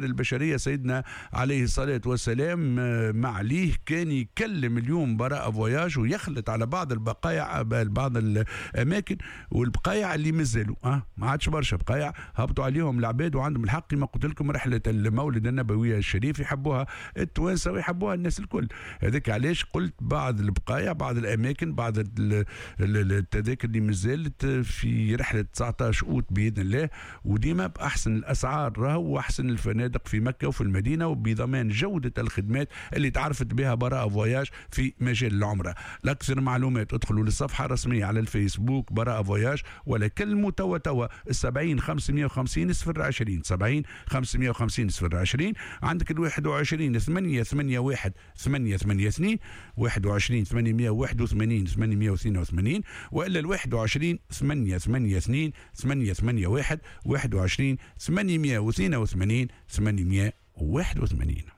البشرية سيدنا عليه الصلاة والسلام ما عليه كان يكلم اليوم براءة Voyages ويخلط على بعض البقايع، بعض الأماكن والبقايع اللي مازالوا ما عادش برشا بقايع هبطوا عليهم العباد، وعندهم الحق كما قلت لكم رحلة المولد النبوي الشريف يحبوها التوانسة ويحبوها الناس الكل. هذاك علاش قلت بعض البقايع، بعض الأماكن، بعض التذاكر اللي مازالت في رحلة 19 أوت بإذن الله، وديما بأحسن الأسعار راهو وأحسن الفنادق في مكة وفي المدينة، وبضمان جودة الخدمات اللي تعرفت بها براءة Voyages في مجال العمرة. لأكثر معلومات ادخلوا للصفحة الرسمية على الفيسبوك براءة Voyages، ولا كلموا توا توا 70 550 020، 70 550 020. عندك ال 21 8 8 1 8 8 2، 21 881 882، وإلا ال 21 8 8 2 8 8 1، 21 882 881.